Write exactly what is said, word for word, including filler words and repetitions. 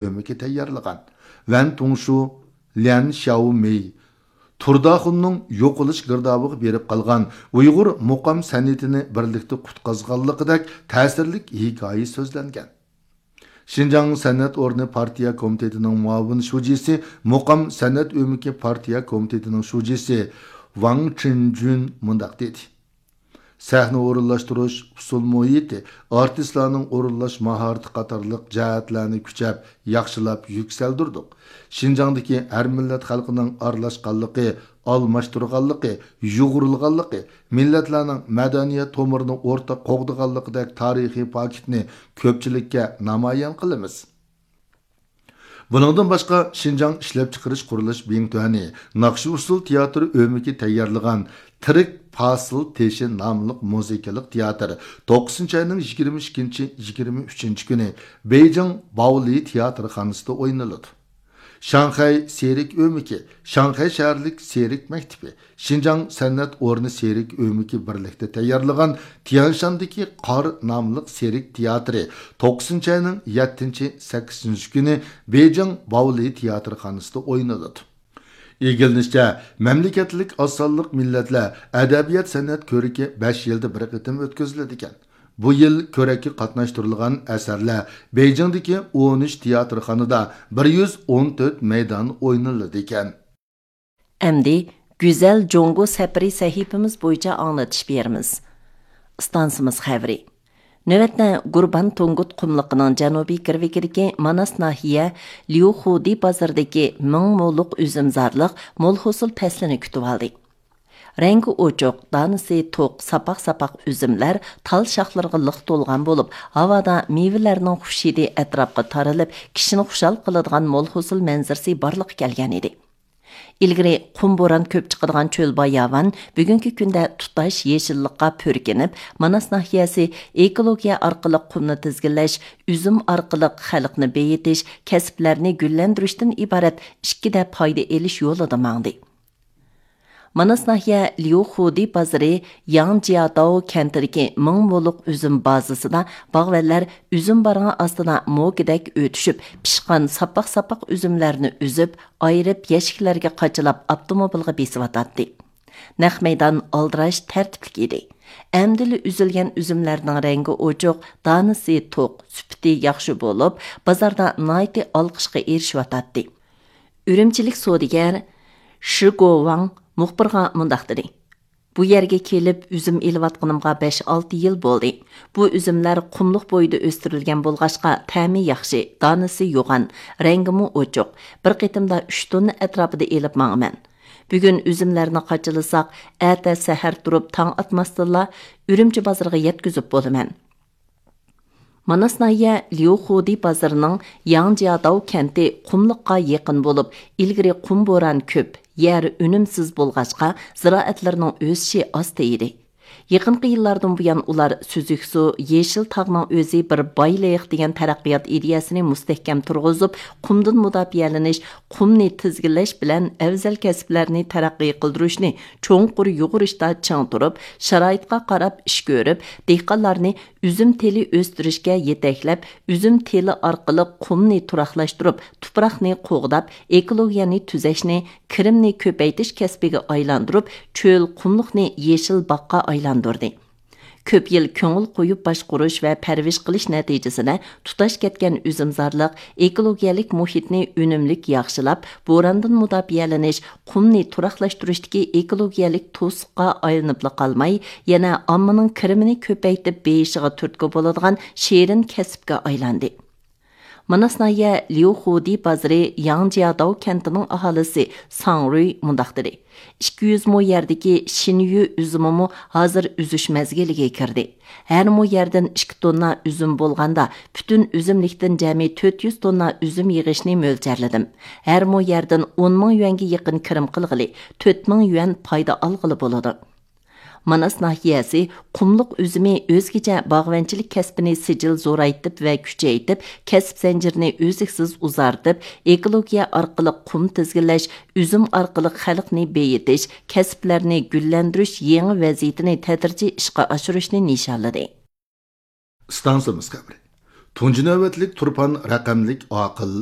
ئۆمىكى تەييارلىغان ۋەن تۇڭشۇ، ليەن شياۋمېي، تۇرداخۇننىڭ يوقىلىش گىردابىغا بېرىپ قالغان ئۇيغۇر مۇقام سەنئىتىنى بىرلىكتە قۇتقازغانلىقىدەك تەسىرلىك ھېكايە سۆزلەنگەن. شىنجاڭ سەنئەت ئورنى پارتىيە كومىتېتىنىڭ مۇئاۋىن شۇجىسى، مۇقام سەنئەت ئۆمىكى پارتىيە كومىتېتىنىڭ شۇجىسى ۋاڭ چىنجۈن مۇنداق دېدى: سەھنە ئورۇنلاشتۇرۇش، ئۇسسۇل مۇھىتى، ئارتىسلارنىڭ ئورۇنلاش ماھارىتى قاتارلىق جەھەتلەرنى كۈچەپ، ياخشىلاپ يۈكسەلدۈردۇق. شىنجاڭدىكى ھەر مىللەت خەلقىنىڭ ئارىلاشقانلىقى، ئالماشتۇرغانلىقى، يۇغۇرۇلغانلىقى، مىللەتلەرنىڭ مەدەنىيەت تومۇرىنى ئورتاق قوغدىغانلىقىدەك تارىخىي پاكىتنى كۆپچىلىككە نامايان قىلىمىز. بۇنىڭدىن باشقا، شىنجاڭ ئىشلەپچىقىرىش قۇرۇلۇش بىڭتۈەنى ناخشا ئۇسسۇل تىياتىرى ئۆمىكى تەييارلىغان تىرىك پاسىل تېشى ناملىق مۇزىكىلىق تىياتىر توققۇزىنچى ئاينىڭ يىگىرمە ئىككىنچى، يىگىرمە ئۈچىنچى كۈنى بېيجىڭ باۋلى تىياتىرخانىسىدا ئوينىلىدۇ. شاڭخەي سېرك ئۆمىكى، شاڭخەي شەھەرلىك سېرك مەكتىپى، شىنجاڭ سەنئەت ئورنى سېرك ئۆمىكى بىرلىكتە تەييارلىغان تيەنشاندىكى قار ناملىق سېرك تىياتىرى توققۇزىنچى ئاينىڭ يەتتىنچى، سەككىزىنچى كۈنى بېيجىڭ باۋلى تىياتىرخانىسىدا ئوينىلىدۇ. ئىگىلىنىشىچە، مەملىكەتلىك ئاز سانلىق مىللەتلەر ئەدەبىيات سەنئەت كۆرىكى بەش يىلدا بىر قېتىم ئۆتكۈزۈلىدىكەن. بۇ يىل كۆرەككە قاتناشتۇرۇلغان ئەسەرلەر بېيجىڭدىكى ئون ئۈچ تىياتىرخانىدا بىر يۈز ئون تۆت مەيدان ئوينىلىدىكەن. ئەمدى گۈزەل جۇڭگو سەپىرى سەھىپىمىز بويىچە ئاڭلىتىش بېرىمىز. ئىستانسىمىز خەۋىرى. نۆۋەتتە گۇربان تۇڭگۇت قۇملۇقىنىڭ جەنۇبىي گىرۋىكىدىكى ماناس ناھىيە ليۇخۇدى بازىرىدىكى مىڭ مولۇق ئۈزۈمزارلىق مول ھوسۇل پەسلىنى كۈتۈۋالدى. رەڭگى ئوچۇق، دانىسى توق، ساپاق-ساپاق ئۈزۈملەر تال شاخلىرىغا لىق تولغان بولۇپ، ھاۋادا مېۋىلەرنىڭ خۇش ھىدى ئەتراپقا تارىلىپ، كىشىنى خۇشال قىلىدىغان مول ھوسۇل مەنزىرىسى بارلىققا كەلگەن ئىدى. ئىلگىرى قۇم بوران كۆپ چىقىدىغان چۆل باياۋان بۈگۈنكى كۈندە تۇتاش يېشىللىققا پۈركىنىپ، ماناس ناھىيەسى ئېكولوگىيە ئارقىلىق قۇمنى تىزگىنلەش، ئۈزۈم ئارقىلىق خەلقنى بېيىتىش، كەسىپلەرنى گۈللەندۈرۈشتىن ئىبارەت ئىككىدە پايدا ئېلىش يولىدا ماڭدى. ماناس ناھىيە ليۇخۇدى بازىرى ياڭجياداۋ كەنتىدىكى مىڭ مولۇق ئۈزۈم بازىسىدا باغۋەنلەر ئۈزۈم بارغان ئاستىدا موكىدەك ئۆتۈشۈپ، پىشقان ساپاق-ساپاق ئۈزۈملەرنى ئۈزۈپ، ئايرىپ، يەشىكلەرگە قاچىلاپ، ئاپتوموبىلغا بېسىۋاتاتتى. نەق مەيدان ئالدىراش تەرتىپلىك ئىدى. ئەمدىلا ئۈزۈلگەن ئۈزۈملەرنىڭ رەڭگى ئوچۇق، دانىسى توق، سۈپىتى ياخشى بولۇپ، بازاردا ناھايىتى ئالقىشقا ئېرىشىۋاتاتتى. ئۈرۈمچىلىك سودىگەر شى گوۋاڭ مۇخبىرغا مۇنداق دېدى: بۇ يەرگە كېلىپ ئۈزۈم ئېلىۋاتقىنىمغا بەش-ئالتە يىل بولدى. بۇ ئۈزۈملەر قۇملۇق بويىدا ئۆستۈرۈلگەن بولغاچقا، تەمى ياخشى، دانىسى يوغان، رەڭگىمۇ ئوچۇق. بىر قېتىمدا ئۈچ توننا ئەتراپىدا ئېلىپ ماڭىمەن. بۈگۈن ئۈزۈملەرنى قاچىلىساق، ئەتە سەھەر تۇرۇپ تاڭ ئاتماستىنلا ئۈرۈمچى بازىرىغا يەتكۈزۈپ بولىمەن. ماناس ناھىيە ليۇخۇدى بازىرىنىڭ ياڭجياداۋ كەنتى قۇملۇققا يېقىن بولۇپ، ئىلگىرى قۇم بوران كۆپ، يەر ئۈنۈمسىز بولغاچقا، زىرائەتلىرىنىڭ ئۆسۈشى ئاستا ئىدى. يېقىنقى يىللاردىن بۇيان، ئۇلار سۈزۈك سۇ، يېشىل تاغنىڭ ئۆزى بىر بايلىق دېگەن تەرەققىيات ئىدىيەسىنى مۇستەھكەم تۇرغۇزۇپ، قۇمدىن مۇداپىئەلىنىش، قۇمنى تىزگىنلەش بىلەن ئەۋزەل كەسىپلەرنى تەرەققىي قىلدۇرۇشنى چوڭقۇر يۇغۇرۇشتا چىڭ تۇرۇپ، شارائىتقا قاراپ ئىش كۆرۈپ، دېھقانلارنى ئۈزۈم تېلى ئۆستۈرۈشكە يېتەكلەپ، ئۈزۈم تېلى ئارقىلىق قۇمنى تۇراقلاشتۇرۇپ، تۇپراقنى قوغداپ، ئېكولوگىيەنى تۈزەشنى، كىرىمنى كۆپەيتىش كەسپىگە ئايلاندۇرۇپ، چۆل قۇملۇقنى يېشىل باغقا ئايلاندۇردى. كۆپ يىل كۆڭۈل قويۇپ باشقۇرۇش ۋە پەرۋىش قىلىش نەتىجىسىدە، تۇتاش كەتكەن ئۈزۈمزارلىق ئېكولوگىيەلىك مۇھىتنى ئۈنۈملۈك ياخشىلاپ، بوراندىن مۇداپىئەلىنىش، قۇمنى تۇراقلاشتۇرۇشتىكى ئېكولوگىيەلىك توسۇققا ئايلىنىپلا قالماي، يەنە ئاممىنىڭ كىرىمىنى كۆپەيتىپ بېيىشىغا تۈرتكە بولىدىغان شېرىن كەسىپكە ئايلاندى. ماناس ناھىيە ليۇخۇدى بازىرى ياڭجياداۋ كەنتىنىڭ ئاھالىسى ساڭ رۇي مۇنداق دېدى: ئىككى يۈز مو يەردىكى شىنيۈ ئۈزۈمىمۇ ھازىر ئۈزۈش مەزگىلىگە كىردى. ھەر مو يەردىن ئىككى توننا ئۈزۈم بولغاندا، پۈتۈن ئۈزۈملۈكتىن جەمئىي تۆت يۈز توننا ئۈزۈم يىغىشنى مۆلچەرلىدىم. ھەر مو يەردىن ئون مىڭ يۈەنگە يېقىن كىرىم قىلغىلى، تۆت مىڭ يۈەن پايدا ئالغىلى بولىدۇ. ماناس ناھىيەسى قۇملۇق ئۈزۈمى ئۆزگىچە باغۋەنچىلىك كەسپىنى سىجىل زورايتىپ ۋە كۈچەيتىپ، كەسىپ زەنجىرىنى ئۈزلۈكسىز ئۇزارتىپ، ئېكولوگىيە ئارقىلىق قۇم تىزگىنلەش، ئۈزۈم ئارقىلىق خەلقنى بېيىتىش، كەسىپلەرنى گۈللەندۈرۈش يېڭى ۋەزىيىتىنى تەدرىجىي ئىشقا ئاشۇرۇشنى نىشانلىدى. ئىستانسىمىز خەۋىرى. تۇنجى نۆۋەتلىك تۇرپان رەقەملىك ئاقىل